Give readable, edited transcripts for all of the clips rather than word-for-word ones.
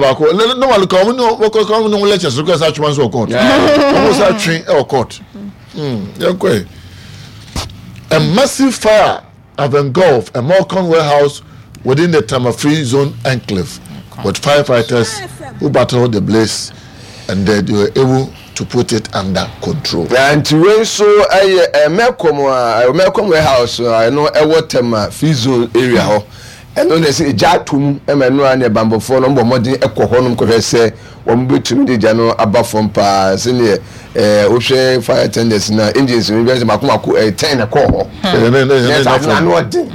Baako normally ka wɔn ne wɔkɔ ka wɔn ne wɔn lectures no kɔ ɛsɛ atwema nso wɔ court wɔn sɛ atwe ɛwɔ court yɛn kɔ yɛ a massive fire have engulfed a Morcon warehouse within the Tema Free Zone enclave with firefighters who battled the blaze and they were able to put it under control. Na nti wei nso ɛyɛ Melcom a Melcom warehouse a ɛno ɛwɔ Tema Free Zone area hɔ. Ɛno na ɛsɛ egya atɔ mu ma ɛno ara ne abanbɔfoɔ no bɔ mmɔden kɔ hɔnom kɔhwɛ sɛ wɔbɛtumi de gya no aba fam paa sɛdeɛ ɛɛ wohwɛ fire tenders na engines no bɛyɛ sɛ mako mako ɛyɛ tɛn na ɛkɔɔ hɔ na ɛsɛ ano ano ɔden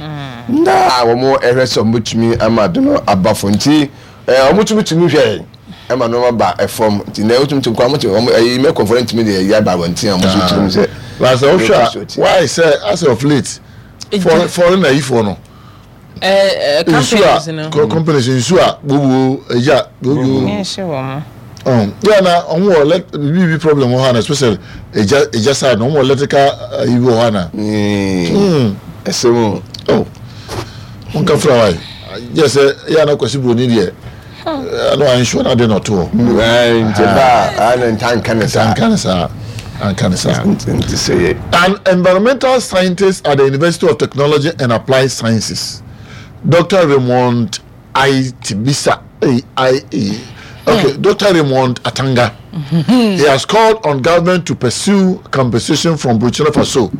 na wɔn ɛhwɛ sɛ wɔbɛtumi ama ade no aba fam nti ɛɛ wɔtumi tumi hwɛ ɛma nneɛma ba ɛfam nti na wotumi tumi kɔ wɔn te wɔn ɛyi mɛkɔfoɔ no ntumi de ɛyi aba abɔnten a wɔn nso tumi sɛ. Na sɛ wohwɛ a why sɛ as of late foreign ayifoɔ no. nsu a companies nsu a gbogbo egya gbogbo yɛ na wɔn wɔ elect bibi bi problem wɔ hɔ ana especially egya egya side na wɔn wɔ electrical ayi bi wɔ hɔ ana. ɛsɛ mu. oh wɔn ka fura wa yi yɛ sɛ yɛ ana kwasi buroni deɛ ɛna wa nsuo na de na ɔto hɔ. nti ba a na nta nka ne saa. nka ne saa nka ne saa. nti sɛ yɛ. An environmental scientist at the University of Technology and Applied Sciences, Dr. Raymond Aitibisa, A I E, okay, Dr. Raymond Atanga, he has called on government to pursue compensation from Burkina Faso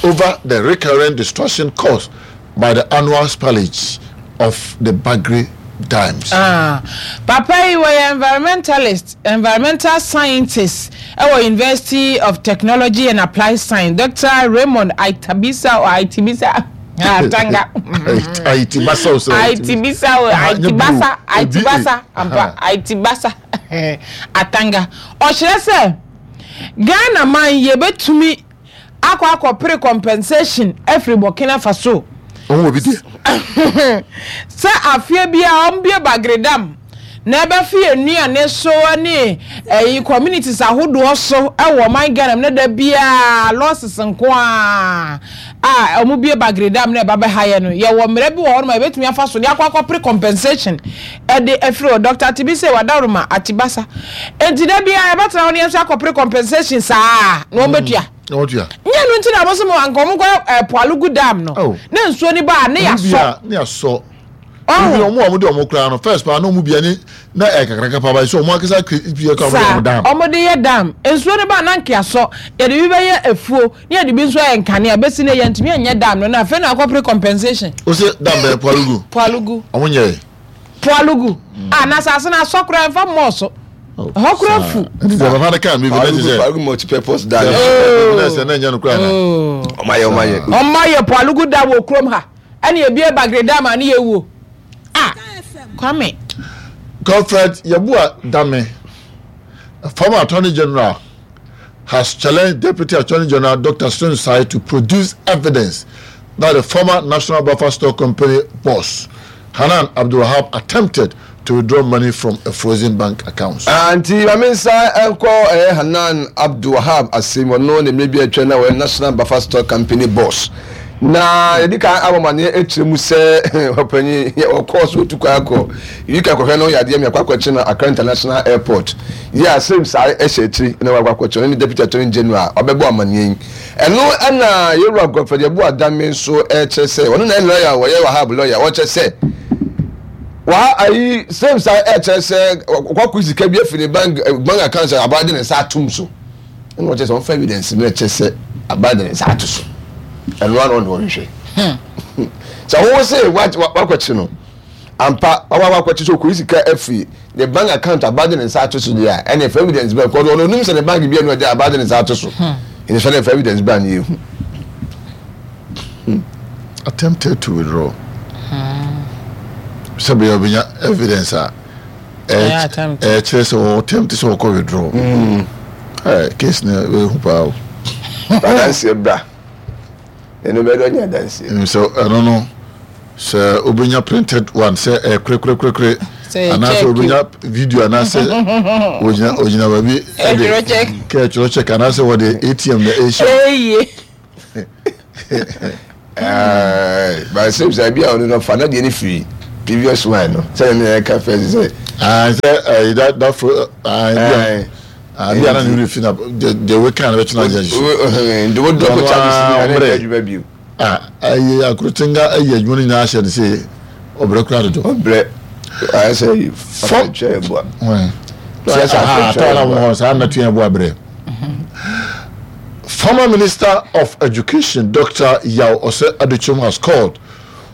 over the recurrent destruction caused by the annual spillage of the Bagre Dams. Ah, papa yi wɔyɛ environmentalist, environmental scientist ɛwɔ University of Technology and Applied Science, Doctor Raymond Aitabisa or Aitibisa Atanga. Aitibasa o sɛ. Aitibisa o Aitibasa Aitibasa ampa Aitibasa Atanga. Ɔkyerɛ sɛ Ghana man yɛbɛtumi akɔ akɔpere compensation afiri Burkina Faso. Wɔn wɔ bi deɛ. Sɛ afeɛ biara wɔn bue Bagre Dam na ɛbɛfe yɛn nnuane so ne ɛyi communities ahodoɔ so ɛwɔ ɔman Ghana mu na da biara losses nko ara a wɔn bue Bagre Dam na ɛba bɛha yɛn no, yɛwɔ mmara bi wɔ hɔ nom a yɛbɛtumi afa so de akɔ akɔpere compensation ɛde afiri hɔ. Doctor Atibise Wadaworoma Atibasa. Enti da biara yɛbɛtena hɔ na yɛn nso akɔpere compensation saa na wɔn bɛtua. Na wɔtua. Nyɛ ɛno nti na wɔn se mo anka wɔn nkɔ eh, Poalugu dam no. Oh. Na nsuo no ba a ne Wɔn bia yasɔ. ne yasɔ. Ɔho. Ebi wɔn a wɔde wɔn koraa no first paa na wɔn bia ne na ɛyɛ kakraka paa ba so wɔn akasa kiri bia kora wɔn de Saa wɔn dam. wɔn de yɛ dam. Nsuo no ba a na nka yasɔ. Yɛde bi bɛyɛ afuo ne yɛde bi nso ayɛ nkanea. Bɛsi nnɛ yɛntumi anyɛ dam no na afei na akɔpere compensation. Wose dam bɛyɛ Poalugu. Poalugu. Wɔn nyɛɛ. Poalugu. Ah, na asase no asɔ koraa mfa mmɔɔ so. Ɛhɔ koraa fu. Nti sɛ papa no kaa mi bi na kyerɛ sɛ. Poalugu multi-purpose dam. Na sɛ na ɛnyɛ no koraa na. Ɔma yɛ ɔma yɛ. Ɔma yɛ Poalugu dam wɔ kurom ha. Ɛna ebie Bagre dam a ne yɛ wuo. Ah, Kwame. Godfred Yeboah Dame, former Attorney General, has challenged Deputy Attorney General Dr. Sai to produce evidence that the former National Buffer Stock Company boss, Hanan Abdulwahab, attempted to withdraw money from a frozen bank account. Ah, nti ma me nsa nkɔ ɛyɛ Hanan Abdulwahab asɛm ɔno na mmerɛ bi atwa na wɔyɛ National Buffer Stock Company boss. Na yɛdi kan abɔ amaneɛ akyerɛ mu sɛ ɔpanyin ɔkɔɔ so otu kwan akɔ UK akɔhwɛ no yadeɛ mi akɔ akɔkye no Accra International Airport yi a same saa ɛhyɛ akyiri na wakɔ akɔkye no ne Deputy Attorney General ɔbɛbɔ amaneɛ yi ɛno ɛna yɛwura Godfred Yeboah Dame nso ɛkyerɛ sɛ ɔno na ɛyɛ lawyer wɔyɛ Wahab lawyer ɔkyerɛ sɛ waha ayi same saa ɛkyerɛ sɛ wakɔ sika bi afiri ne bank bank account sɛ abaa de ne nsa atum so. Ɛna ɔkyerɛ sɛ ɔmfa evidence no ɛkyerɛ sɛ aban de ne nsa ato so. Ɛno ano ɔne ɔhwehwɛ. Hmm. Sɛ wo se wakɔkye no ampa wawa wakɔkye sɛ ɔkɔyi sika afiri ne bank account aban de ne nsa ato so deɛ a ɛne ɛfa evidence bɛn kɔdo ɔno onim sɛ ne bank bi ɛno ɛde aban de ne nsa ato so. Hmm. Ɛne sɛ ne ɛfa evidence bɛn ne yɛhu. Hmm. Attempted to withdraw. Sɛ bɛyɛ ɔbɛnya evidence a. Ɛkyerɛ sɛ wɔn attempt sɛ wɔkɔ withdraw. Mm. Case no ɛhu paa o. Adanseɛ bra. Ɛno bɛdɔ nyɛ adanseɛ. Sɛ ɛno no sɛ wobɛnya printed one sɛ ɛyɛ korekorekorekore anaasɛ wobɛnya video anaasɛ ogyina ogyina baabi ɛde kɛ ɛtwerɛ check anaasɛ wɔde ATM na ɛhyɛ. But sɛ sɛ bi a ɔno no fa na deɛ no firi previous one no sɛ ne ɛka first sɛ. Ah, sɛ ɛyi da da fo ah bi a ah bi a na ne werɛ fi na de de we kan na bɛtena agye ahyehyɛ. Nti wo drop charges ni na ne adwuma bio. Ah ɛyi akorotenga ɛyi adwuma no nyinaa ahyɛ ne se ɔbrɛ kura dodo. Ɔbrɛ ayɛ sɛ yi fam twɛ ɛboa. Sɛ sɛ atɔ na wɔn saa na twɛ ɛboa brɛ. Former Minister of Education Dr. Yaw Osei Adutwum has called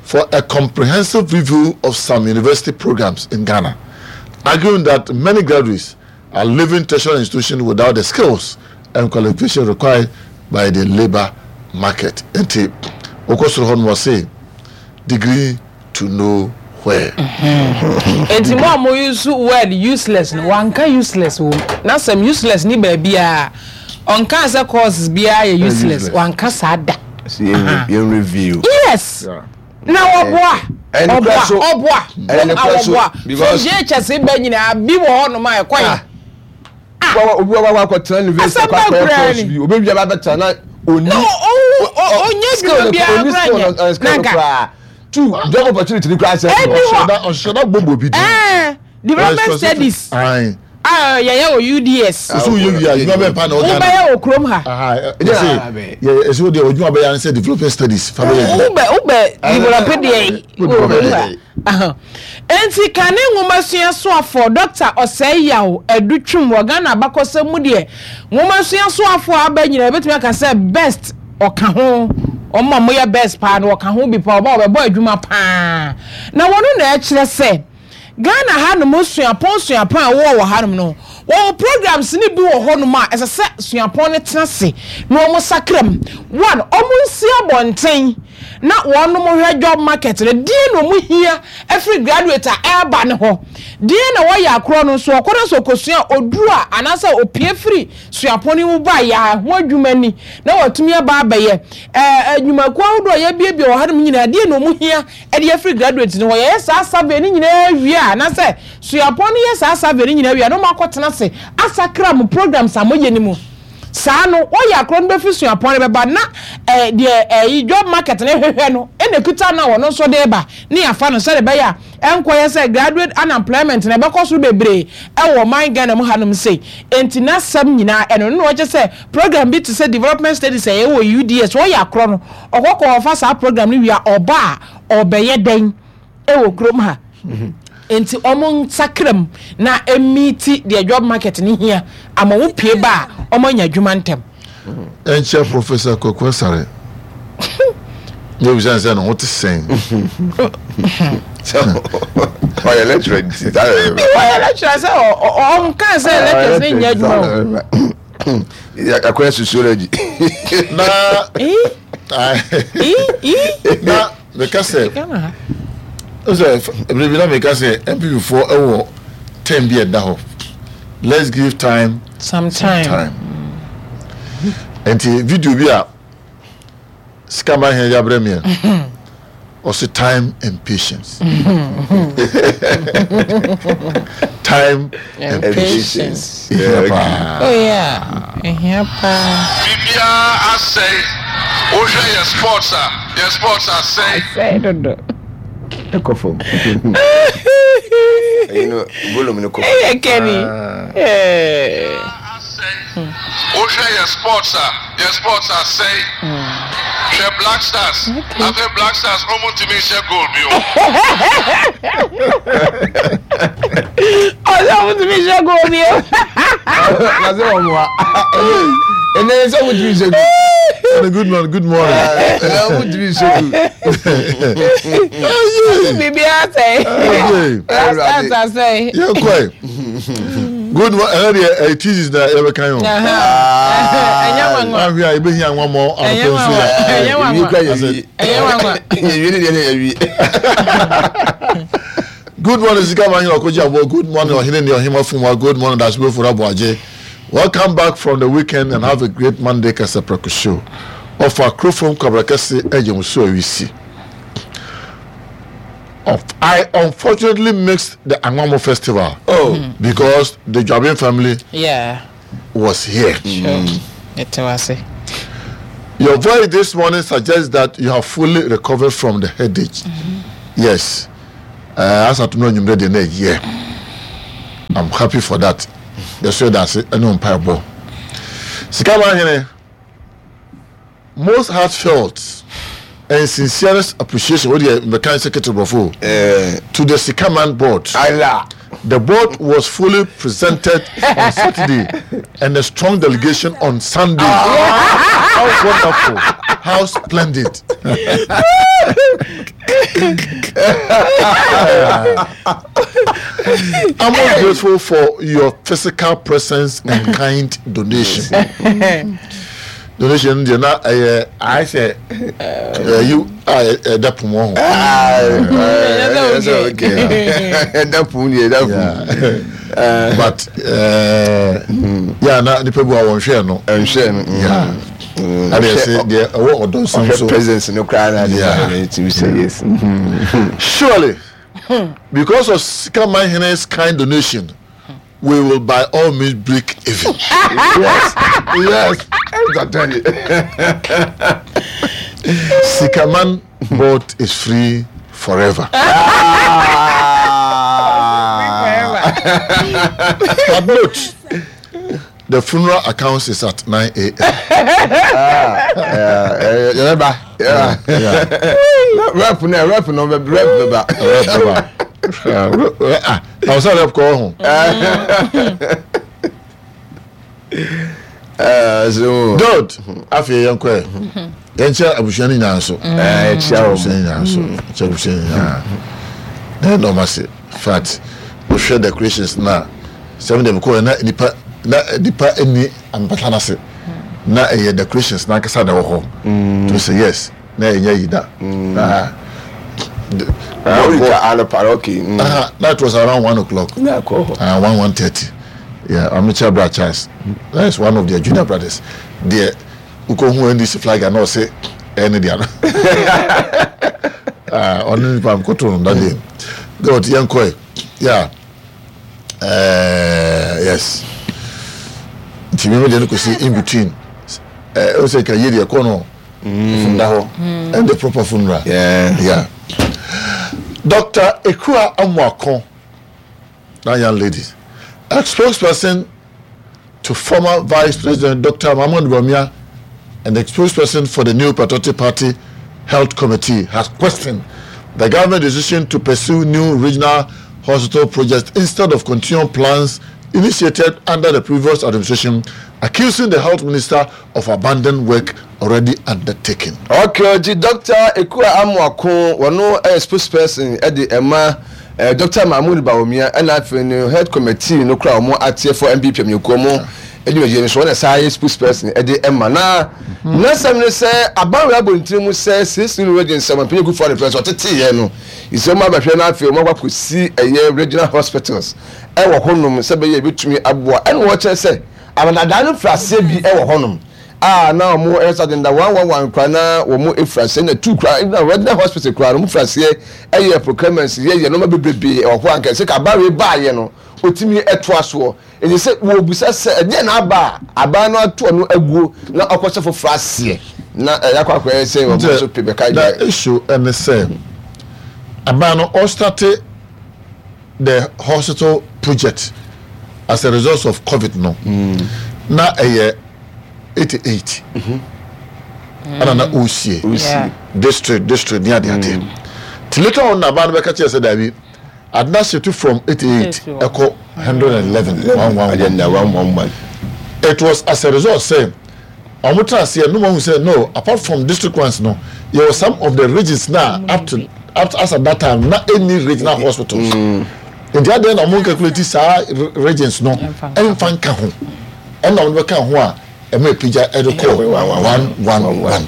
for a comprehensive review of some university programs in Ghana, arguing that many graduates are leaving tertiary institutions without the skills and qualifications required by the labor market. Nti, wokɔ soro hɔ no wɔse degree to know where. Enti mo a mo use word useless no, wanka useless wɔ mu. N'asɛm useless ni baabiara. Ɔnkaa sɛ courses biara yɛ useless. Wanka saa da. Yɛn review. Yes. Na ɔboa. Ɔboa. Ɔboa. Ɔboa. From JHS ba nyinaa bi wɔ hɔ nom a ɛkɔ yɛ. Ah. Obi wa wa akɔtena university akɔ akɔyɛ course bi. Obi wia ba bɛtena na oni. No, onye dwuma biara kura nyɛ. Nanka. Two job opportunity ni kura sɛ. Ɛni hɔ. Ɔhyɛda gbogbo bi di. Ɛɛ development studies. A yɛyɛ wɔ UDS. Osu yɛ wia adwuma bɛn pa na ɔda. Wobɛyɛ wɔ kurom ha. Yɛsɛ yɛ ɛsɛ deɛ adwuma bɛyɛ ansɛ development studies fa bɛyɛ adwuma. Wobɛ wobɛ develop deɛ wɔ kurom ha. Enti kane nwomasua soafoɔ Dɔkta Osei Yaw Adu Twum wɔ Ghana abakɔsɛm mu deɛ nwomasua soafoɔ a aba nyinaa yɛbɛtumi aka sɛ best ɔka ho wɔn a wɔyɛ best paa no ɔka ho bi paa ɔba ɔbɛbɔ adwuma paa na wɔn na ɛkyerɛ sɛ Ghana hanom suapɔn suapɔn a wɔwɔ wɔ hanom no, wɔwɔ programs no bi wɔ hɔnom a ɛsɛ sɛ suapɔn no tena ase na wɔn sakra mu. One, wɔn nsi abɔnten na wɔnom hwɛ job market no, deɛn na wɔn hia afiri graduate a ɛreba no hɔ, deɛn na wɔyɛ akorɔ no nso, ɔkɔ na sɛ ɔkɔsua a, ɔduru a anaasɛ ɔpue firi suapɔn no mu ba a, yɛ a ɛho adwuma ni na watumi aba abɛyɛ. Ɛɛ nnwumakuo ahodoɔ a yɛabuebue wɔ hanom nyinaa, deɛn na wɔn hia de afiri graduate no hɔ. Yɛyɛ saa survey no nyinaa wie a, anaasɛ suapɔn no yɛ saa survey no nyinaa wie a, na wɔakɔtena ase asakra mo programs a moyɛ no mu. Saa no, wɔyɛ akorɔ no bɛfiri suapɔn no bɛba na eh, deɛ eh, job market no hwehwɛ no na ɛkuta no a wɔno nso de ba ne yɛafa no sɛdeɛ ɛbɛyɛ a ɛnkɔyɛ sɛ graduate unemployment no ɛbɛkɔ soro bebree ɛwɔ ɔman Ghana mu hanom sei. Enti n'asɛm nyinaa ɛno no na wɔkyɛ sɛ program bi te sɛ development studies a ɛwɔ UDS wɔyɛ akorɔ no Ɔkɔ kɔ ɔfa saa program no wie a ɔba a ɔbɛyɛ dɛn ɛwɔ kurom ha nti ɔmo nsakra mu na ɛmiiti deɛ job market no hia ama wo pie ba a ɔmo anya adwuma ntɛm. Ɛnkyɛ Professor Kwaku Asare na ebisa no sɛ ne ho te sɛn. Ɔyɛ lecturer nti saa yɛ. Ɔyɛ lecturer sɛ ɔnka sɛ lecturers ne nyɛ adwuma o. Akɔyɛ sociology. Na na meka sɛ sɛ ebire bi na meka sɛ NPP foɔ ɛwɔ term bi ɛda hɔ let's give time some time, some time. Nti video bi a. Sika ma hɛn yabrɛ me ɛ. Ɔse time and patience. Time and patience. Ehia paa. Oh yeah, ehia paa. Biribiara asɛe. Wohwɛ yɛ sports a, yɛ sports asɛe. Asɛe dodo. Ɛkɔ fam. Ɛyi no volume no kɔ fam. Ɛyɛ Kenny. Wohwɛ yɛ sports a, yɛ sports asɛe. Hwɛ Black Stars, afei Black Stars ɔmo ntumi nhyɛ goal bio. Ɔsɛ ɔmo ntumi nhyɛ goal bio. Na sɛ ɔmo a, ɛnɛ sɛ ɔmo ntumi nhyɛ goal. Good morning, good morning. Ɛnɛ ɔmo ntumi nhyɛ goal. Biribi asɛe. Black Stars asɛe. Yɛn kɔɛ. Good one. Ɛnɛ deɛ ɛyɛ thesis na yɛbɛka yi o. Ɛnyɛ nwanwa. Ahwɛ a yɛbɛhia nwa mɔ anɔpɛ nso yɛ. Ɛnyɛ nwanwa. Ɛnyɛ nwanwa. Yɛwie ne deɛ ne yɛwie. Good morning sika ma nyina ɔkɔgye aboɔ. Good morning ɔhene ne ɔhema fumwa. Good morning dasebe fura aboagye. Welcome back from the weekend and have a great Monday Kasapreko show. Ɔfa kurofam kwabra kɛse ɛgye mo so awisi. I unfortunately missed the Anwamo festival oh. because the Jabin family yeah. was here. Sure. Mm. Your voice this morning suggests that you have fully recovered from the headache. Mm -hmm. Yes. As at no yeah. I'm happy for that. Yɛso yɛda ase ɛne wo mpaebɔ. Sika man hene, most heartfelt and sincerest appreciation wo deɛ mbɛka sɛ kete borɔfo eh. to the Sikaman board. Allah. The board was fully presented on Saturday and a strong delegation on Sunday. Ah. How wonderful. How splendid. I'm most grateful for your physical presence and kind donation. donation deɛ na ɛyɛ ayɛ sɛ ɛyi a ɛda pon ho. Ɛda pon deɛ ɛda pon. But yà na nipa bi wa wɔn hwɛ no. Nhwɛ no. Ɛna ɛsɛ deɛ ɛwɔ ɔdɔ nsɛm so. Ɔhwɛ presence no koraa na adi na ɛti sɛ yes. Surely because of Sikamanhene's kind donation. we will by all means break even. yes, yes. Sikaman board is free forever. But note, the funeral accounts is at 9 a.m. Ah, yeah, yeah, yeah. Rep no, rep no, rep beba. Rep beba. Ah, na ɔsɛ rep kɔ ho. Good. Afei yɛn kɔ yɛ. Yɛn kyɛ abusua no nyinaa nso. Kyɛ abusua no nyinaa nso. Kyɛ abusua no nyinaa. Na yɛn dɔm ase. Fat. Wohwɛ decorations na sɛm deɛ mekɔ yɛ na nipa na nipa ni ampata n'ase. Na ɛyɛ decorations n'ankasa na ɛwɔ hɔ. To say yes. Na ɛnyɛ yi da. Na okay. Uh, that was around 1 o'clock. 1, 1:30. Yeah, Amicha Bra Charles. That is one of their junior brothers. Deɛ wokɔhu NDC flag a na ɔse ɛne deɛ no. Ɔno nipa mkoto no that day. God, yɛnkɔe. Yeah. Yes. Nti mímu deɛ no kɔsi in between. Ɛ ɔsɛ ka yie deɛ kɔ no. Funda hɔ. Ɛnde proper funeral. Yeah. Dr. Ekua Amoako, that young lady, a spokesperson to former Vice President Dr. Mahmoud Bawumia and the spokesperson for the New Patriotic Party Health Committee, has questioned the government decision to pursue new regional hospital projects instead of continuing plans initiated under the previous administration, accusing the health minister of abandoning work already undertaken. Okay, nti Dr. Ekua Amoako, wɔno ɛyɛ spokesperson ɛde ɛma eh, Dr. Mahmoud Bawumia ɛna afei no head committee no kora wɔn ateɛ for NPP amanyɔkuo mo adwumadie no so wɔn na saa yɛ spokesperson ɛde ɛma na n'asɛm ne sɛ aban wei abɔ ne tiri mu sɛ six new regions sɛ wɔn Akufo Addo pɛ sɛ ɔtete yɛ no sɛ wɔn abɛhwɛ na afei wɔn akɔ akɔsi ɛyɛ regional hospitals ɛwɔ hɔnom sɛ bɛyɛ ebɛtumi aboa ɛna wɔkyerɛ sɛ Amanadan no firi aseɛ bi wɔ hɔnom a na wɔn ɛyɛ sɛ agenda 111 koraa na wɔn firi aseɛ na two koraa na regional hospital koraa no wɔn firi aseɛ ɛyɛ procurements yɛ yɛ nneɛma bebrebe wɔ hɔ anka sɛ kaba wei baayɛ no otumi ɛtoa soɔ nti sɛ wɔbisa sɛ ɛdeɛ na aba a aban no ato ɔno aguo na ɔkɔhyɛ foforɔ aseɛ na ɛyɛ akɔ akɔyɛ sɛ wɔn nso pe bɛka The issue ɛne sɛ aban no ɔstarte the hospital project as a result of COVID no na ɛyɛ 88 ɛna na ɔresie district district ne ade ade ti later on na aban no bɛka kyerɛ sɛ daabi adena shift from 88 ɛkɔ 111 111. It was as a result sɛ wɔn tena aseɛ no wɔn sɛ no, apart from district ones no, yɛwɔ some of the regions na up to as at that time na any regional hospitals nti adeɛ na wɔn calculate saa regions no ɛnfa nka ho ɛna wɔn bɛka ho a ɛma epagya ɛde kɔ 111.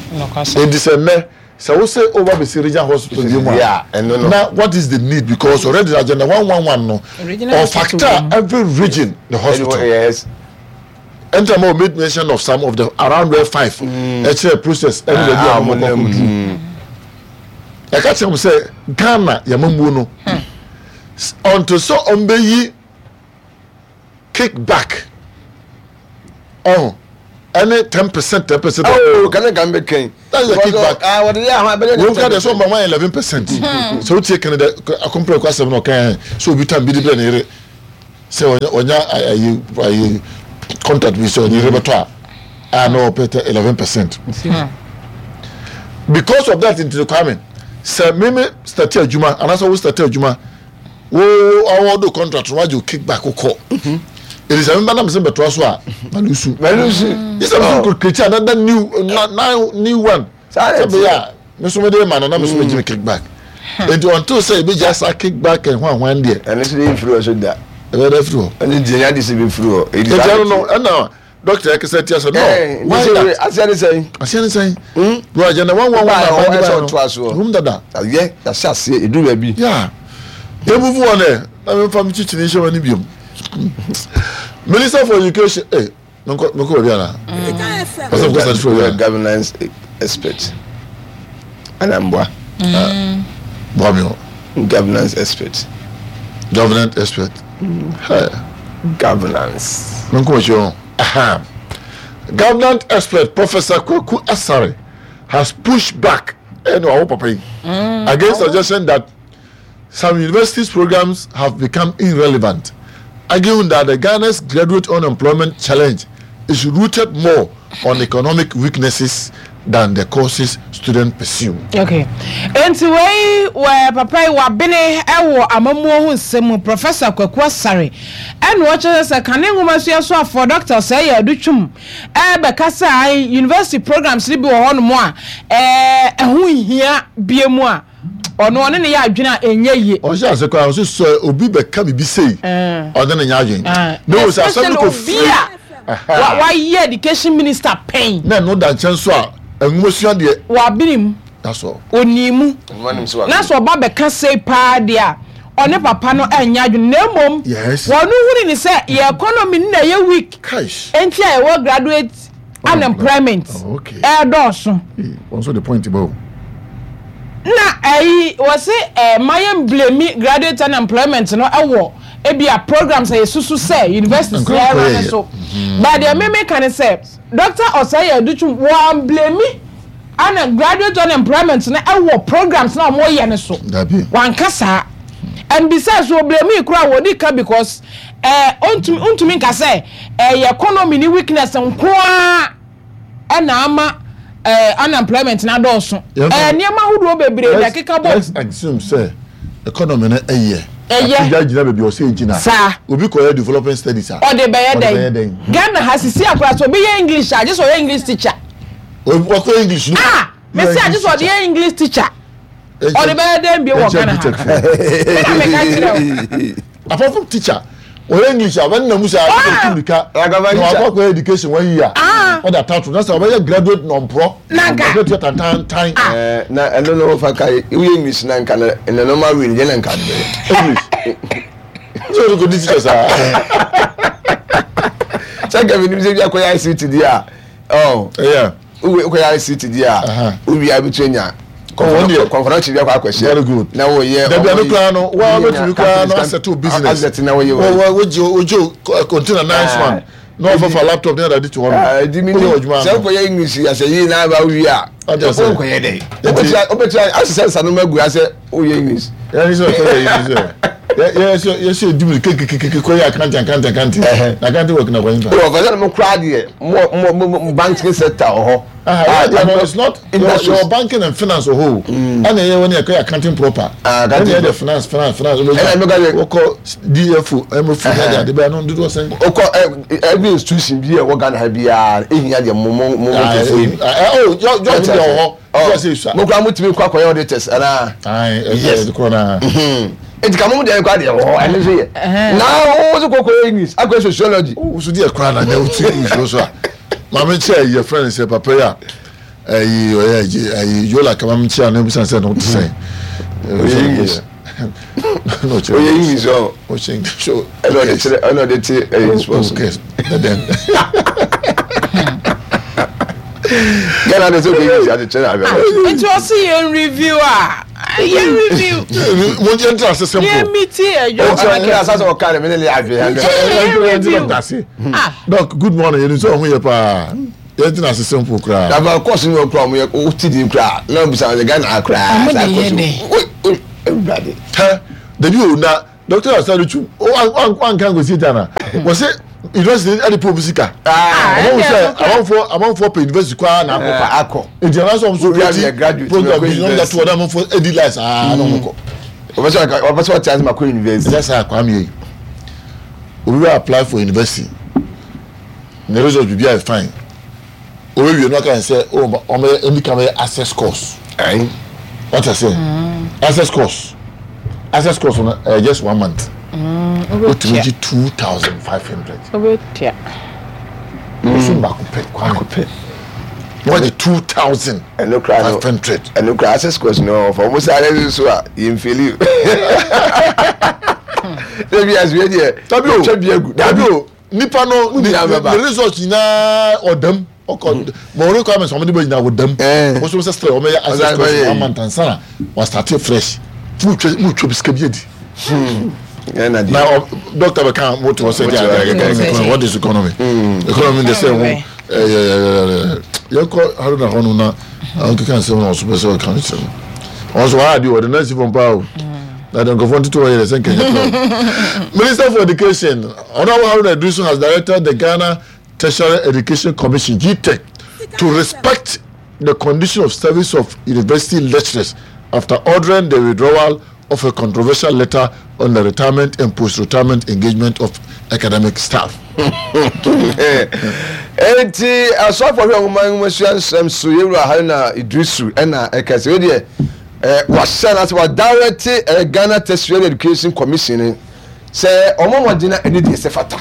Edi sɛ nnɛ sɛ wosɛ over besi regional hospital bi mu a, na what is the need? Because already agenda 111 no or factor every region the hospital. Yes. Ɛnta ma o made mention of some of the around where five ɛkyerɛ process ɛne baabi a wɔn kɔ kɔduru. Yɛka kyerɛ mo sɛ Ghana yɛmamuo no until sɛ ɔmbɛyi kickback ɔho ɛne 10%, 10%. Oh, kane kan bɛ kɛn. That's the kickback. Ah, wɔde yɛ ahɔn abɛyɛ. Wɔn ka deɛ sɛ ɔma wɔn 11%. Sɛ o tie Canada akɔmpere kɔ asɛm na ɔka yɛn sɛ obi tam bi de brɛ ne yere. Sɛ ɔnya ayi ayi contract bi sɛ ɔne yere bɛtɔ a a na ɔpɛ tɛ 11%. Because of that nti Kwame sɛ meme start adwuma anaasɛ wo start adwuma wo awɔ do contract no wagye wo kickback kɔ. Ɛdi sɛ meba na mesɛ bɛtoa so a malusu. Malusu. Sɛ mesɛ kɔ create another new na, na, new one. Saa na Sɛ ɛteɛ. bɛyɛ a me nso mede ma no na me nso megye me kickback. Nti until sɛ yɛbɛgya saa kickback and hwan hwan deɛ. Ɛno nso deɛ mfiri hɔ so da. Ɛbɛyɛ dɛ afiri hɔ. Ɛno deɛ ɛnyɛ ade sɛ ɛbɛfiri hɔ. Ɛdi Nti saa na ɛno no ɛteɛ. ɛna doctor ɛkasa tia sɛ no Ɛɛ, nti why sɛ wei that? aseɛ ne sɛn? Aseɛ ne sɛn? Bro agenda 111 Wobaa na hɔ aban de ɛsɛ baeɛ no ɔtoa soɔ. ɛwom dada. Ayɛ, yɛahyɛ aseɛ, ɛduru baabi. Yeah. Yɛ move on ɛ na memfa me kyikyini nhyɛ m'ani biom. Minister for education eh. Menkɔ menkɔ baabi ana? Ɔsɛ mekɔ sase firi Woyɛ governance expert. Ana mboa. Mm. Boa me o. Governance expert. Governance expert. Mm. Hey. Governance. Menkɔ akyi o. Aha. Governance expert Professor Kwaku Asare has pushed back ɛna ɔwɔ papa yi against suggestion that some universities programs have become irrelevant, arguing that the Ghana's graduate unemployment challenge is rooted more on economic weaknesses than the courses students pursue. Okay. Enti wei wɔ papa yi wabene wɔ amammuo ho nsɛm mu Professor Kwaku Asare ɛna ɔkyerɛ sɛ kane nwomasua soafoɔ Dr. Osei Adutwum ɛbɛka sɛ ae university programs no bi wɔ hɔnom a ɛho nhia bie mu a ɔno ɔne ne yɛ adwene a ɛnyɛ yie. Ɔhyɛ ase koraa ɔse sɛ obi bɛka biribi sei ɔne ne nyɛ adwene. Na o sɛ asɛm no kɔ firi. Especially obi a wayɛ education minister pɛn. Na ɛno da nkyɛn nso a nwomasua deɛ. Wabene mu. That's all. Ɔnii mu. Na sɛ ɔba bɛka sei paa deɛ a ɔne papa no ɛnyɛ adwene na mmom. Yes. Wɔn huni ne sɛ yɛ economy no na ɛyɛ weak. Kaish. Enti a yɛwɔ graduate unemployment ɛredɔɔso. Wɔn nso de point ba o. Na ɛyi wɔsi ɛɛ ma yɛn blame graduate unemployment no ɛwɔ ebi a programs a yɛsusu sɛ universities na ɛra ne so. But deɛ mímí ka ne sɛ Dr. Osei Adutwum wɔn blame ana graduate unemployment no ɛwɔ programs na wɔn yɛ ne so. Wɔn saa. And besides wɔ blame kura wɔdi ka because. Eh, ontumi ontumi nka sɛ ɛyɛ economy ne weakness nko ara ɛna ama eh, unemployment na adɔɔso. Eh, nneɛma ahodoɔ bebree na ɛkeka bɔ. Let's assume sɛ economy no ɛyɛ. Ɛyɛ. Apagya gyina baabi ɔsɛ gyina. Saa. Obi kɔyɛ development studies a. Ɔde bɛyɛ dɛn? Ghana ha sisi akora sɛ obi yɛ English a, gye sɛ ɔyɛ English teacher. Ɔkɔ English no. Ah, mesi a gye sɛ ɔde yɛ English teacher. Ɔde bɛyɛ dɛn bio wɔ Ghana ha? Ɛna meka kyerɛ wo. Apart from teacher, ɔyɛ English a ɔbɛnna mu sɛ ɔtu mirika na wakɔ akɔyɛ education one year ɔde atato na sɛ ɔbɛyɛ graduate nɔmporɔ ɔbɛ tua tantantan. Na ɛno no fa ka woyɛ English na nka na ɛna normal way deɛ na nka de bɛyɛ. English. Sɛ ɔde kɔ di teacher saa. Sɛ nka mi nim sɛ bi akɔyɛ ICT deɛ a ɔ. Yeah. Wowie wokɔyɛ ICT deɛ a wowie a wobɛtumi anya kɔnfɔnɔkye bi akɔ akɔhyɛ. Very good. Na woyɛ Dabi ano koraa no wa wobɛtumi koraa no asɛte business. Asɛte na woyɛ wɔ. Wogye wogye container nice one na wɔfafa laptop ne adade to hɔ no. Ɛdi mi ni sɛ wokɔyɛ English asɛ yie na aba wowie a wokɔyɛ dɛ. Wobɛtumi asesɛ nsa no ma agu asɛ woyɛ English. Yɛn sɛ ɔkɔyɛ yi sɛ yɛ yɛ sɛ edi mu kekekeke kɔyɛ akanti akanti akanti na akanti work na kɔyin fa. Wɔ fɛsɛ mo kura deɛ mo mo mo banking sector wɔ hɔ. Ah, yeah, no, it's not your, your banking and finance wɔ hɔ o. Ɛna yɛ wɔn yɛ kɔyɛ accounting proper. Ɛna yɛ de finance finance finance. Ɛna mi ka yɛ. Wɔkɔ DFO MFO na de ade bɛyɛ no dodoɔ sɛn. Okɔ every institution bi a ɛwɔ Ghana ha biara ehia deɛ mo mo mo mo kɛse yi. Ɛ ɔ jɔ jɔ bi wɔ hɔ. Oh, mo kura mo tumi kɔ akɔyɛ auditors anaa. Yes. Nti ka mo mu deɛ kɔ adeɛ wɔ hɔ ɛno nso yɛ. Na wo nso kɔ kɔyɛ English akɔyɛ sociology. Wo nso deɛ kora na nyɛ wo ti nsuo so a. Maame kyɛ yɛ friend sɛ papa yi a ɛyi ɔyɛ ɛyi yola kama mi kyɛ a na ebusa sɛ na ɔte sɛn. Ɔyɛ English. Ɔyɛ English ɔ. Ɔkyɛ English o. Ɛna ɔde kyerɛ ɛna ɔde te ɛyɛ sports. Okay. Then. Ghana de sɛ ɔkɔ English ade kyerɛ abɛ. Nti ɔsi yɛn review a yɛn review. Mo yɛn ti ase simple. Yɛn mi ti ɛdwo. Ɔkyerɛ ne asase ɔka ne mi ne ne adwe. Yɛn review. Doc good morning yɛn nisɛ ɔho yɛ paa. Yɛn ti na ase simple koraa. Na ba course ni wɔn kura wɔn yɛ o ti di koraa na bisa wɔn Ghana koraa. Ɔmo de yɛ dɛ. Ewurade. Hɛ dabi o na. Dr. Asare Twum wanka nkosi da na wɔsɛ university ɛde pɛ obi sika. Ɔmo sɛ amanfoɔ amanfoɔ pɛ university kɔ ara na akɔ pa. Akɔ. Nti ɛna sɛ ɔmo so create program bi na ɔmo da to ɔda amanfoɔ edi lies aa na ɔmo kɔ. Ɔbɛ sɛ ɔte ase ma kɔ university. Ɛnyɛ saa Kwame yi. Obi bɛ apply for university. Ne result bibi ayɛ fine. Obewie no aka sɛ oh ɔmo yɛ ɛni kan bɛyɛ access course. Ayi. Wate aseɛ? Access course. Access course no ɛyɛ just one month. Wotumi gye 2,500. Wobɛtua. Bosom baako pɛ. Baako pɛ. Na wagye 2,500. Ɛno kura access course no ɔfa wɔn sáré nso a yɛn feli o. Ebi asoɛ deɛ. Dabi o. Twɛ bi egu. Dabi o. Nipa no ne ne result nyinaa ɔdam ɔkɔ ma wɔn requirements wɔn de bɛ nyinaa ɔdam wɔn nso sɛ still wɔn yɛ access course one month ansa na wɔn start fresh mu twɛ mu twɛ sika bi adi. Na doctor bɛ kan mo te hɔ sɛ di adi economy economy what is economy economy de sɛ ho ɛyɛ yɛn kɔ Haruna hɔ no na ɔnkeka nsɛm na ɔso pɛ sɛ ɔka nsɛm ɔso wɔn adi wɔde nurse fam paa o. Na the nkurɔfoɔ ntoto hɔ yɛ sɛ nkɛnyɛ kora. Minister for Education, Honorable Haruna Iddrisu has directed the Ghana Tertiary Education Commission, GTEC, to respect the condition of service of university lecturers after ordering the withdrawal of a controversial letter on the retirement and post-retirement engagement of academic staff. Enti asɔfo hwɛ nwoma nwomasua nsɛm so yɛwura Haruna Iddrisu ɛna ɛka sɛ wei deɛ Eh, wahyɛ no ase wadirect eh, Ghana Tertiary Education Commission no sɛ wɔn mmɔden na ɛne deɛ sɛ fata.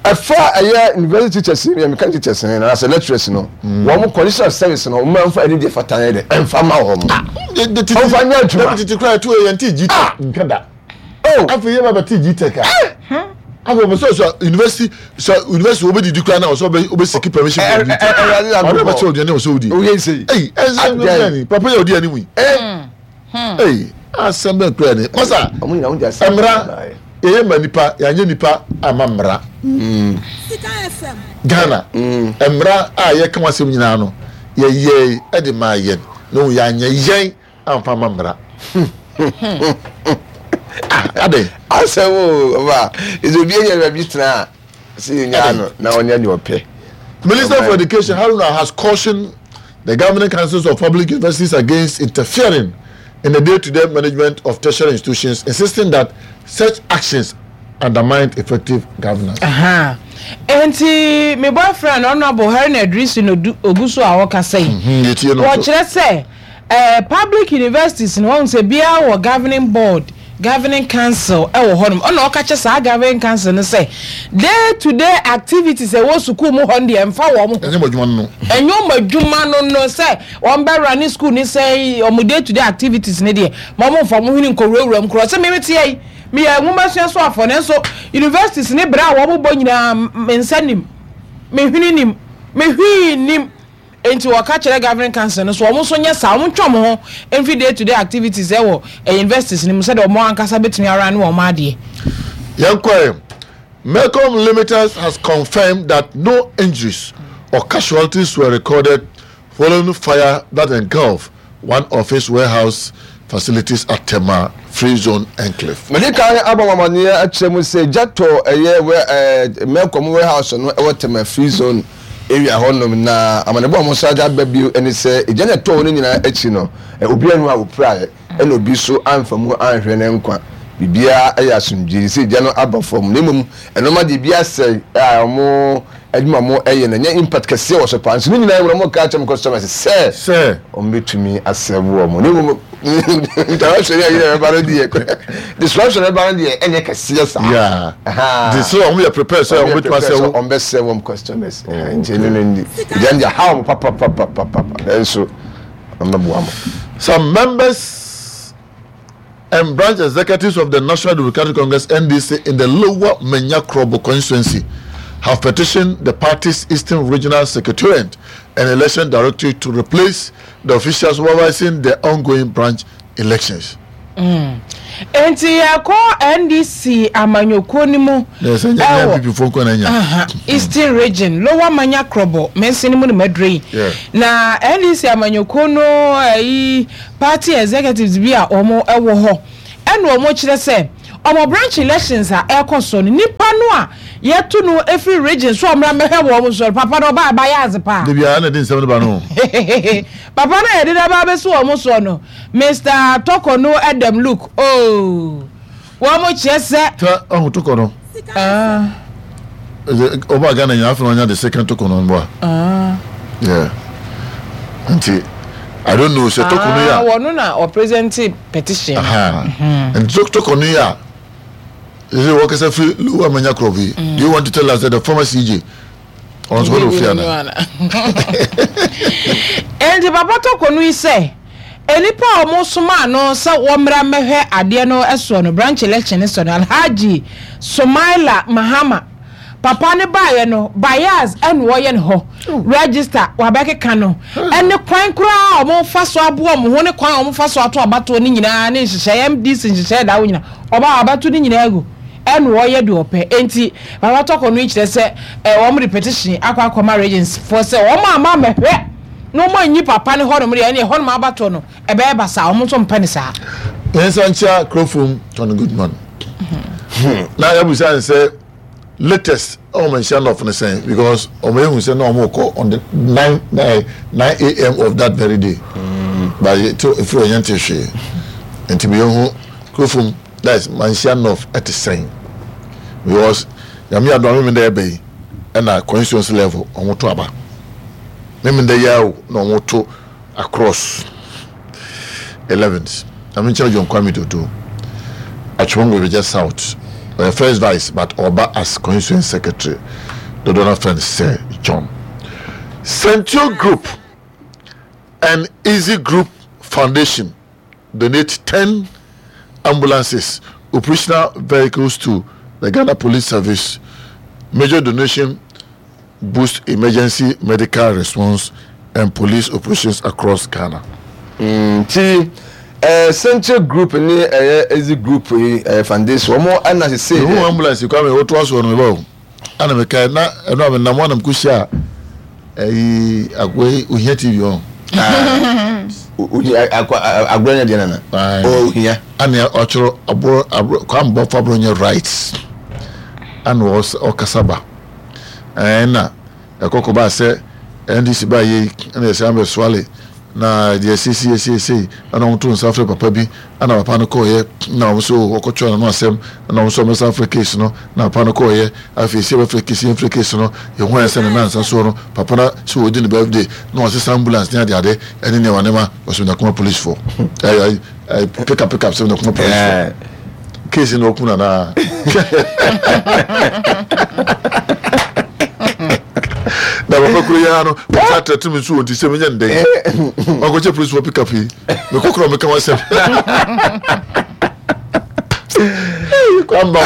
Ɛfa ɛyɛ university teachers no yɛ meka teachers no na sɛ lecturers no mm. wɔn condition of service no wɔn mfa ɛne deɛ fata yɛ dɛ ɛnfa ma wɔn. Ah, wɔn fa nyɛ adwuma. Tete kura ɛto yɛ nti gyi ah. nka da. Oh. Afei yɛ ba bɛ ti GTEC a. Eh. Afei ɔbɛ sɛ sɛ university sɛ university wɔbɛ didi kura na ɔsɛ ɔbɛ ɔbɛ siki permission for GTEC. Ɔbɛ bɛ kyerɛ ɔduane ɔsɛ ɔdi. Oyɛ nse. Eyi ɛsɛ ɛsɛ papa yɛ ɔdi anim yi. Eyi asɛm bɛ kura ni. Masa mmra yɛyɛ ma nipa yɛanyɛ nipa ama mmra. Ghana mmra a yɛka wɔn asɛm nyinaa no yɛyɛ ɛde maa yɛn na yɛanyɛ yɛn. amfa ma mmara ah adɛn asɛm o ɔba ɛsɛ obi anya baabi tena a sɛ yɛnyaa no na ɔnyɛ deɛ ɔpɛ Minister for Education Haruna has cautioned the governing councils of public universities against interfering in the day-to-day management of tertiary institutions, insisting that such actions undermine effective governance. Enti me boyfriend Honorable Haruna Iddrisu no ogu so a ɔkasa yi. Wɔkyerɛ sɛ Eh public universities no wahu sɛ biara wɔ governing board, governing council wɔ hɔnom ɛna ɔka kyɛ saa governing council no sɛ day to day activities ɛwɔ sukuu mu hɔ no deɛ ɛmfa wɔn ho. Ɛnyɛ wɔn adwuma no no. Ɛnyɛ wɔn adwuma no no sɛ wɔn bɛ run school ne sɛ wɔn day to day activities no deɛ ma wɔn mfa wɔn hwene nkɔwurawura mu koraa sɛ me meteɛ yi meyɛ nwomasua soafoɔ nanso universities ne berɛ a wɔn bɔ nyinaa me nsa nim me hwene nim me hwee nim. Enti wɔka kyerɛ Governing Council no sɛ wɔn nso nyɛ saa, wɔntwe wɔn ho mfi day to day activities ɛwɔ universities no mu sɛdeɛ wɔn ankasa bɛtumi arane wɔn adeɛ. Yɛnkɔ ɛ. Melcom Limited has confirmed that no injuries or casualties were recorded following fire that engulfed one of its warehouse facilities at Tema Free Zone Enclave. Mede kan abɔ mo amaneɛ akyerɛ mu sɛ gya tɔ ɛyɛ wɛ ɛɛ Melcom warehouse no ɛwɔ Tema Free Zone area hɔ nom na amanebɔ a wɔn nsa de aba bio ɛne sɛ egya no ɛtɔɔ no nyinaa akyi no obiara nni hɔ a ɔpiraeɛ ɛna obi nso amfa mu anhwere ne nkwa biribiara ɛyɛ asomdwie sɛ egya no aba fam na mmom ɛnoma deɛ ebi asɛe a wɔn adwuma mo ɛyɛ no ɛnyɛ impact kɛseɛ wɔ so paa nso ne nyinaa mu no wɔn ka kyerɛ wɔn customers sɛ sɛ wɔn bɛtumi asɛbo wɔn ne mmom interruption yɛ yɛ ɛba no deɛ disruption ɛba no deɛ ɛnyɛ kɛseɛ saa yeah de sɛ wɔn yɛ prepare sɛ wɔn bɛtumi asɛbo wɔn bɛ sɛ wɔn customers nti ɛno no ndi ɛgya no deɛ ha wɔn papapapapapa nanso wɔn bɛboa mo. Some members and branch executives of the National Democratic Congress NDC in the Lower Manya Krobo constituency have petitioned the party's Eastern Regional Secretariat and Election Directorate to replace the officials supervising the ongoing branch elections. Mm. Enti yɛkɔ NDC amanyɔkuo no mu ɛwɔ Eastern Region, Lower Manya Krobo mansini mu na maduro yi. Na NDC amanyɔkuo no ɛyi party executives bi a wɔn wɔ hɔ. Ɛna wɔn kyerɛ sɛ wɔn branch elections a ɛrekɔ soɔ no nipa no a yɛto no firi region so a ɔmmra mmɛhwɛ wɔn soɔ no papa no ɔbaa ɛbayɛ adze paa. Da biara na ɛde nsɛm no ba no. Papa no a yɛde no aba abɛsi wɔn soɔ no Mister Tɔkɔ no Edem Luke oh wɔn kyerɛ sɛ. Tɛ ɔho Tɔkɔ no. Ah. Ɔba Ghana nyinaa afei na ɔnya the second Tɔkɔ no mboa. Ah. Yeah. Nti I don't know sɛ Tɔkɔ no yɛ a. Ah wɔn na ɔpresente petition. Aha. Nti Tɔkɔ no yɛ a. Sɛ wɔkasa firi Lower Manya Krɔb yi. Do you want to tell us that the former CJ ɔno nso hɔ na ofiri ana? Enti papa Tɔkɔ no yi sɛ nnipa a wɔsomaa no sɛ wɔmmra mmɛhwɛ adeɛ no soɔ no, branch election no soɔ no, Alhaji Sumaila Mahama papa no baeɛ no, bias ɛna ɔyɛ no hɔ, register wabɛkeka no, ɛne kwan koraa a wɔfa so aboa wɔn ho ne kwan a wɔfa so ato abatoɔ no nyinaa ne nhyehyɛeɛ, MDC nhyehyɛeɛ da hɔ nyinaa, ɔba a wabɛto ne nyinaa agu, ɛna ɔyɛ deɛ ɔpɛ. Enti papa Tɔkɔ no yi kyerɛ sɛ wɔde petition akɔ akɔma regions foɔ sɛ wɔn amma ammɛhwɛ na wɔn anyi papa no hɔnom deɛ ɛne ɛhɔnom abatoɔ no ɛbɛyɛ basaa, wɔn nso mpɛ no saa. Yɛn nsa nkyia Kurofom Tony Goodman. Na yɛabusa no sɛ latest ɛwɔ Manhyia North no sɛn because wɔn ehu sɛ na wɔn rekɔ on the 9 9 am of that very day. But yɛ to efiri hɔ yɛn te hwee. Nti mi yɛn hu Kurofom that is Manhyia North ɛte sɛn because Nyame adom a Memenda ɛbɛ yi ɛna constituency level wɔn to aba. Memenda yi ara o na wɔn to across 11th. Nyame nkyɛn John Kwame Dodo Atwomong Bebegya South ɔyɛ first vice but ɔba as constituency secretary dodoɔ no afrɛ no Sir John. Sentio Group and Easy Group Foundation donate 10 ambulances, operational vehicles to the Ghana Police Service. Major donation boost emergency medical response and police operations across Ghana. Nti eh, Central Group ne ɛyɛ Ezi Group yi eh, foundation wɔn ɛna sese. Ehu ambulance kwame woto aso no meba o. Ana mekae na ɛno a menam anam kɔhyia ɛyi akoa yi ohia tv ɔn. Ohia akwa agorɔ nyɛ deɛ nana. Ohia. Ana ɔkyerɛ aboro aboro kwame bɔfo aboro nyɛ right. Ana ɔkasa ba. Ɛna ɛkɔ kɔbaa sɛ NDC baa yei ɛna yɛsɛ ambɛ soale na deɛ seisei seisei ɛna wɔn to nsa frɛ papa bi ɛna papa no kɔɔyɛ na wɔn so wɔkɔtwerɛ n'ano asɛm ɛna wɔn so wɔn san frɛ case no na papa no kɔɔyɛ afei sɛ yɛbɛfrɛ case yɛmfrɛ case no yɛhu ayɛ sɛ ne nansa soɔ no papa no sɛ wɔdi ne birthday na wɔsesa ambulance ne adeade ɛne nneɛma nneɛma wɔsɛ nakoma police foɔ ɛɛ ɛɛ pick up pick up sɛ nakoma police foɔ Case no okun anaa? Na papa kuro yi ara no, wɔn atrɛte mi nso wɔn ti sɛ menyɛ ndɛn. Wakɔkyɛ polisi wɔ pick up yi. Mekɔ kura meka wasɛm. Kwamba.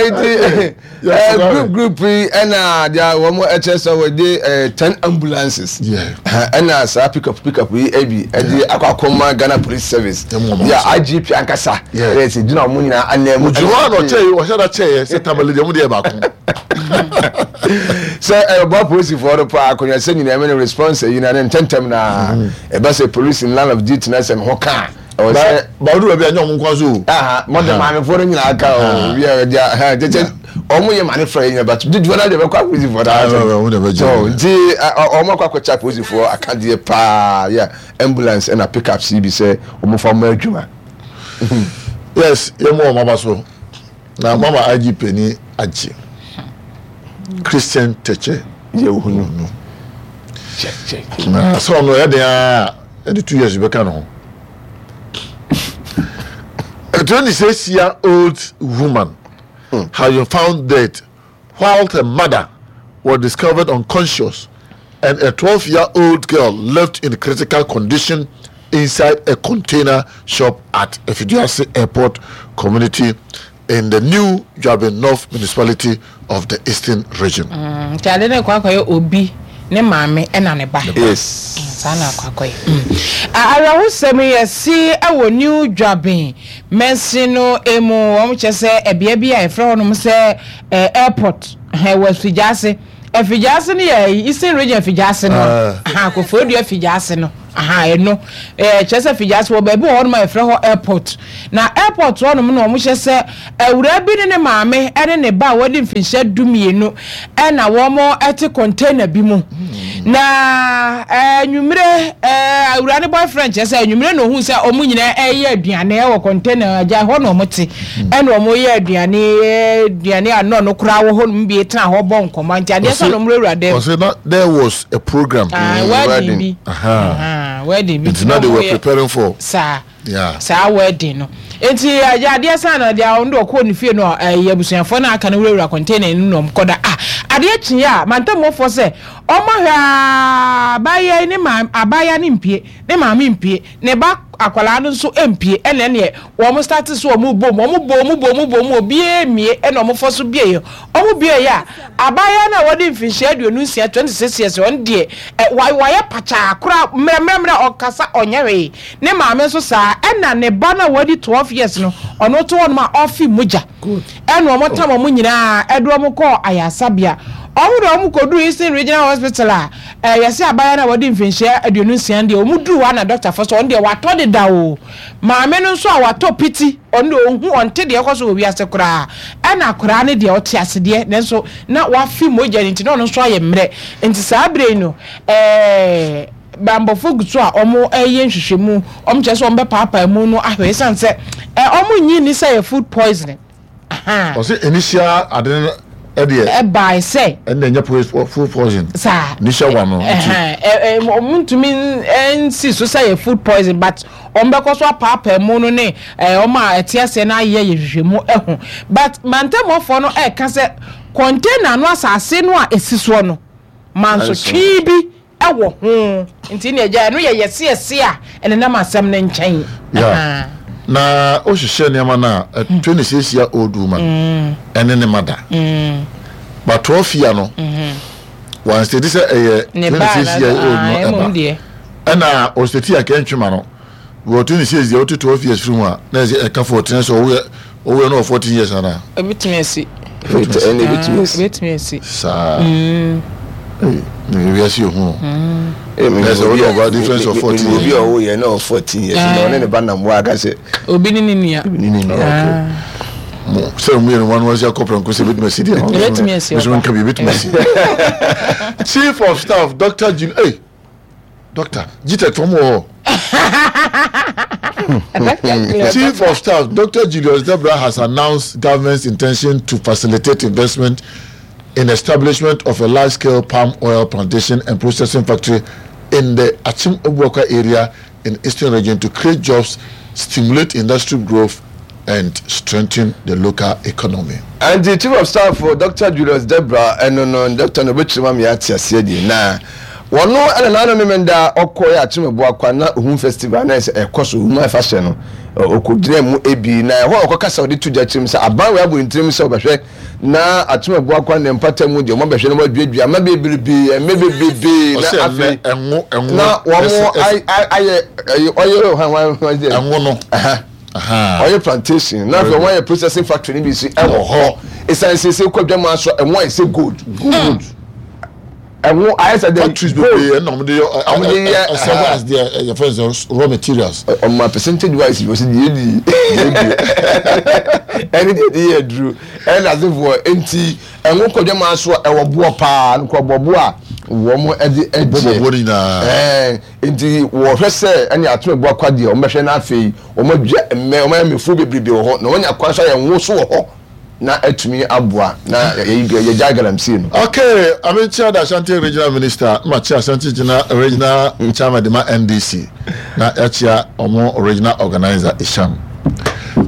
Nti group group yi ɛna deɛ wɔn ɛkyerɛ sɛ wɔde 10 ambulances ɛna saa pick up pick up yi ɛbi ɛde akɔ akɔma Ghana Police Service yɛ IGP ankasa ɛyɛ sɛ gyina wɔn nyinaa anan mu. Ogyina hɔ a na ɔkyɛ yi ɔhyɛ da kyɛ yɛ sɛ tamale deɛ wɔn deɛ baako. Sɛ ɛbɔ polisifoɔ no paa akonnwa sɛ nyinaa ɛmɛ no response yi na ne ntɛntɛm na ɛba sɛ police in line of duty na sɛ ne ho kaa. Ɛwɔ sɛ. Ba ɔdu baabi a nyɛ ɔmo nko so o. Aha mo de maamefoɔ no nyinaa ka o obi a ɛdi a kyɛkyɛ ɔmo yɛ maame fɛ nyina but dodoɔ naa deɛ bɛkɔ apolisifoɔ naa sɛ so nti ɔmo akɔ akɔkyɛ apolisifoɔ akadeɛ paa yɛ ambulance ɛna pick up si bi sɛ ɔmo fa ɔmo adwuma. Yes yɛ mo ɔmo aba so na mama IGP ni agye Christian Tɛkyɛ yɛ ohunu no na sɛ ɔno ɛyɛ den aa ɛde 2 years bɛka ne ho. A 26-year-old woman has been found dead while her mother was discovered unconscious and a 12-year-old girl left in critical condition inside a container shop at Efiduase Airport community in the New Juaben North Municipality of the Eastern Region. Nti ade no rekɔ akɔyɛ obi ne maame ɛna ne ba. Yes. Saa na akɔ akɔyɛ. Awerɛhosɛm yi asi wɔ New Juaben mansin no mu. Wɔn kyerɛ sɛ ɛbea bi a yɛfrɛ hɔnom sɛ airport wɔ Afigyaase. Afigyaase no yɛ Eastern Region Afigyaase no. Koforidua Afigyaase no. Aha ɛno ɛɛ kyerɛ sɛ Figyase wɔ baabi wɔ hɔnom a yɛfrɛ hɔ airport. Na airport hɔnom na wɔhyɛ sɛ awuraa bi ne ne maame ne ne ba a wadi mfinhyia dumienu na wɔte container bi mu. Na anwummere awuraa ne boyfriend kyerɛ sɛ anwummere na ohun sɛ wɔn nyinaa ɛreyɛ aduane wɔ container agya hɔ na wɔte ɛna wɔyɛ aduane aduane a nɔɔ no koraa wɔ hɔnom bi tena hɔ bɔ nkɔmmɔ nti adeɛ sɛ na wɔn wurawura dɛm. Ɔsɛ na there was a program. Ah, wedding bi. Aha. Wedding bi. Nti na they were preparing for. Saa. Yeah. Saa wedding no. Nti agya adeɛ san na deɛ ɔno deɛ ɔkɔɔ ne fie no ɛyɛ abusuafoɔ no aka no wurawura container no na ɔmo kɔda. Ah, adeɛ kyeeɛ a mantamufoɔ sɛ ɔmo ahwɛ aa abaayewa yi ne maame abaayewa no mpie ne maame mpie ne ba akwadaa no nso mpie ɛna ɛneɛ wɔn start so wɔn bom wɔn bom wɔn bom bom obiara mmie ɛna wɔn fɔ so bie wɔn bie yɛ a abaayewa no a wɔde mfinhyia 26, 26 years, ɔno deɛ ɛ wa wayɛ pakyaa koraa mmerɛmmerɛmmerɛ ɔkasa ɔnyɛ hwee. Ne maame nso saa ɛna ne ba no a wadi 12 years no ɔno to hɔnom a ɔfe mogya. Ɛna wɔn tam wɔn nyinaa ɛde wɔn kɔɔ ayaresabea. Wɔn de wɔn kɔduru Eastern Regional Hospital a ɛɛ yɛse abaayewa no a wadi mfinhyia 26 no deɛ wɔn duru hɔ a na dɔktafoɔ sɛ ɔno deɛ watɔ deda o. Maame no nso a watɔ piti ɔno deɛ ɔnhu ɔnte deɛ ɛkɔ so wɔ wiase koraa. Ɛna akwadaa no deɛ ɔte ase deɛ nanso na wafe mogya no nti na ɔno nso ayɛ mmerɛ. Nti saa berɛ yi no ɛɛ Bammɔfo gu so a wɔreyɛ nhwehwɛmu. Wɔkyerɛ sɛ wɔbɛpaapae mu no ahwɛ esiane sɛ wɔnnye nni sɛ ɛyɛ food poisoning. Ahaa. Ɔsɛ initial ade no ɛdeɛ. Ɛbae sɛ. Ɛnna ɛnyɛ food poison. Saa. Initial one no. Ɛhɛn wɔntumi nsi so sɛ ɛyɛ food poison but wɔbɛkɔ so apaapae mu no ne wɔn a ɛte aseɛ no ayɛ yɛ nhwehwɛmu ahu. But mantamuafoɔ no ɛreka sɛ container no asase no a ɛsi soɔ no mansotwe bi wɔ ho nti ne agya ɛno yɛ yɛseɛse a ɛnenam asɛm no nkyɛn. Yeah. Na wohyehyɛ nneɛma no a, a 26 year old woman ɛne ne mother. But 12 year no, wɔn state sɛ ɛyɛ 26 year old no ɛba. Ɛna ɔstate a kɛntwema no, wɔ 26 deɛ wote 12 years firi mu a, na ɛsɛ ɛka 14 sɛ ɔwoyɛ ɔwoyɛ no wɔ 14 years anaa. Ebitumi asi. Ɛna ebitumi asi. Ebitumi asi. Saa. Ee, na ewiase yɛ hu o. Ɛsɛ wɔn ɔba difference of 14 years. Obi a ɔwɔ yɛ na ɔwɔ 14 years na ɔne ne ba nam hɔ aka sɛ. Obi ne ne nua. Obi ne ne nua. Okay. Mo sɛ mo yɛ no wɔn wɔn si akɔ pɛrɛnko sɛ ebitumi asi deɛ. Ebitumi asi ɔba. Nka bi ebitumi asi. Chief of Staff Dr. Jim hey Doctor GTEC fɔm wɔ hɔ. Chief of Staff Dr. Julius Debrah has announced government's intention to facilitate investment in establishment of a large-scale palm oil plantation and processing factory in the Akyem Abuakwa area in Eastern Region to create jobs, stimulate industry growth and strengthen the local economy. Ɛnti Chief of Staff Doctor Julius Debrah ɛno no Doctor no ɔbɛkyerɛ mu ama yɛate aseɛ deɛ na wɔno ɛna n'ano Memenda ɔkɔɛ Akyem Abuakwa na Ohum Festival na ɛsɛ ɛkɔ so Ohum Afahyɛ no ɔkɔgyina mu ebi na ɛhɔ ɔkɔ kasa ɔde to gya kyerɛ mu sɛ aban wei abɔ ne tirim sɛ ɔbɛhwɛ na Akyem Abuakwa ne mpata mu deɛ wɔn abɛhwɛ na wɔaduadua ama bebrebe ɛmɛ bebrebe na afei na wɔn ayɛ ɔyɛ hwan hwan hwan ɛngo no ɔyɛ plantation na afei wɔn ayɛ processing factory no bi si ɛwɔ hɔ esan sese kɔ dwam aso ɛho ayɛ sɛ gold gold ɛho ayɛ sɛ factories bebree ɛna wɔn de yɛ wɔn de yɛ ɛsɛ as their yɛ fɛn sɛ raw materials. ɔmo percentage wise wɔ sɛ deɛ di ɛne deɛ de yɛ aduro ɛna asefoɔ nti ɛho kɔ dwam aso ɛwɔ boɔ paa nkɔ bɔ boɔ a wɔn ɛde ɛgye bɔ boɔ nyinaa ɛɛ. Enti wɔhwɛ sɛ ɛne atom boa kwa deɛ, wɔbɛhwɛ na afei wɔadua mmɛ, wɔayɛ mmɛfuo bebrebe wɔ hɔ, na wɔanya kwan nso ayɛ ngo nso wɔ hɔ na atumi aboa na yɛgyae galamsey no. Okay, Amekyia the Ashanti Regional Minister, na makyia Ashanti Regional Chairman de ma NDC, na yɛakyia wɔn Regional Organizer Isham.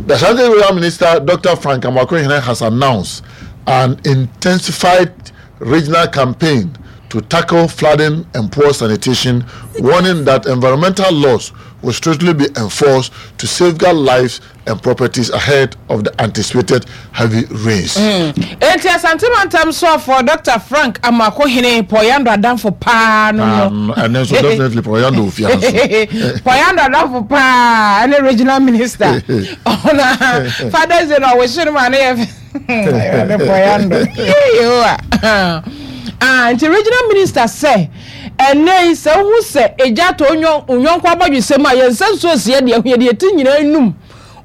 The Ashanti Regional Minister, Dr. Frank Amoakohene, has announced an intensified regional campaign to tackle flooding and poor sanitation, warning that environmental laws will strictly be enforced to safeguard lives and properties ahead of the anticipated heavy rains. Enti Asante Mantam soafoɔ Dɔkta Frank Amoakohene Poyando adamfo paa no no. Ɛno nso definitely Poyando ofie ha nso. Poyando adamfo paa ɛne regional minister. Ɔna Father's Day na ɔwɔhye no ma ne yɛ fɛ. Awurade Poyando. Yehowa. Ah, nti regional minister sɛ. Ɛnnɛ yi, sɛ wohu sɛ egya atɔ wo yɔnko abɔdwesɛ mu a, yɛn nsa nsuo si yɛn deɛ ho, yɛde yɛn ti nyinaa num.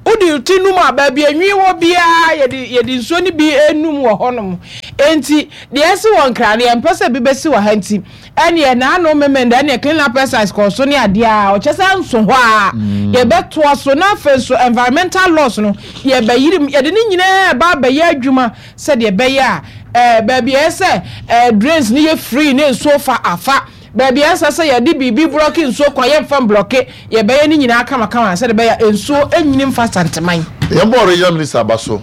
Wode wo ti num a, baabi a nwi wɔ biara, yɛde yɛde nsuo no bi num wɔ hɔnom. Enti, deɛ asi wɔ Nkran no, yɛmpɛ sɛ ebi bɛsi wɔ ha nti, ɛnneɛ n'ano Memenda, ɛnneɛ clean up exercise kɔɔ so ne adeɛ a, ɔkyɛ sɛ nso hɔ ara, yɛbɛtoa so. Na afei nso, environmental laws no, yɛbɛyere mu, yɛde ne nyinaa reba abɛyɛ adwuma sɛdeɛ ɛbɛyɛ a, ɛɛ, baabi a ɛyɛ sɛ ɛɛ drains no yɛ free na nsuo fa afa, baabi a ɛnsɛ sɛ yɛde biribi blɔke nsuo kwan, yɛmfa mblɔke, yɛbɛyɛ ne nyinaa kamakama sɛdeɛ ɛbɛyɛ a nsuo nyini mfa Santeman. Yɛn bɔ regional minister aba so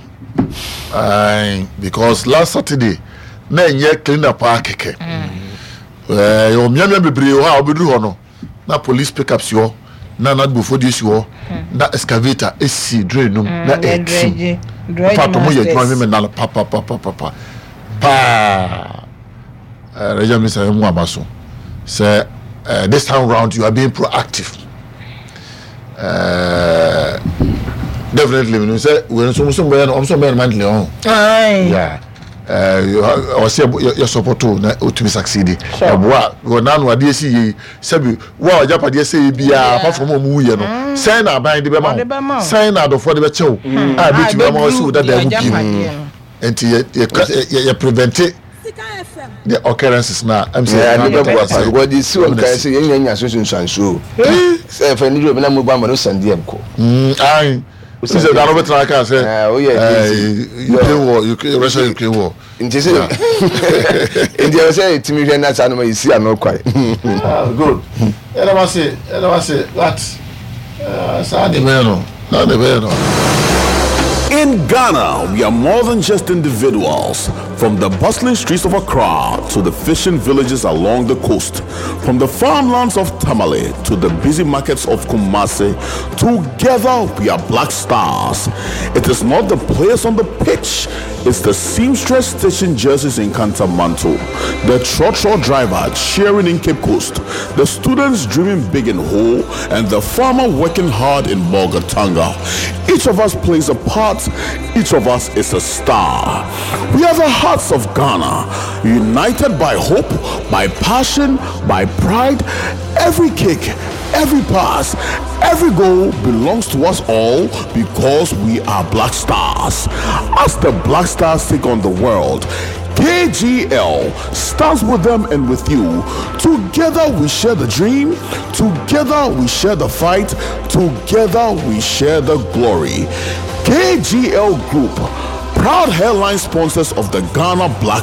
ae because last Saturday na ɛnyɛ clean up ara kɛkɛ. Ɛɛ yɛwɔ mmeammea bebree wɔ hɔ a wobɛduru hɔ no na police pickup si hɔ na nadmofoɔ deɛ si hɔ na excavator si drain no mu na ɛretim. In fact wɔn yɛ adwuma memenda no papapapapa paa. Uh, regional minister yɛn mu aba so sɛ uh, this time round you are being proactive. Uh, definitely menim sɛ wei nso nso bɛyɛ no ɔmo nso bɛyɛ no monthly ɔho. Yeah. Ɔsɛ yɛ support o na otumi succeed. Ɛboa wɔ n'ano adeɛ si yie sɛbi wo a ɔgyapadeɛ sɛ yɛ biara apart from ɔmo wuyɛ no sɛn na aban de bɛma wo sɛn na adɔfoɔ de bɛkyɛ wo a ebetumi ama ɔsi wo dada mu pii nti yɛ yɛ yɛ prevent the occurrences na ɛm sɛ yɛ ade bɛboa paa because de si wɔn kan sɛ yɛn nyinaa nya so nsunsuansoɔ sɛ ɛfɛ ne duro na mo ba ma no sàn deɛ nkɔ. Ayi sɛ da no bɛtena aka sɛ Ukraine war Ukraine Russia Ukraine war. Nti sɛ nti ɛwɔ sɛ yɛtumi hwɛ na saa noma yɛsi ano kwan. Good yɛda mo ase yɛda mo ase but saa de bɛyɛ no saa de bɛyɛ no. In Ghana, we are more than just individuals. From the bustling streets of Accra to the fishing villages along the coast, from the farmlands of Tamale to the busy markets of Kumasi, together we are Black Stars. It is not the players on the pitch, it's the seamstress stitching jerseys in Kantamanto, the trotro driver cheering in Cape Coast, the students dreaming big in Ho, and the farmer working hard in Bolgatanga. Each of us plays a part, each of us is a star. We are the hearts of Ghana, united by hope, by passion, by pride. Every kick, every pass, every goal belongs to us all because we are Black Stars. As the Black Stars take on the world, KGL stands with them and with you. Together we share the dream, together we share the fight, together we share the glory. KGL Group, proud headline sponsors of the Ghana Black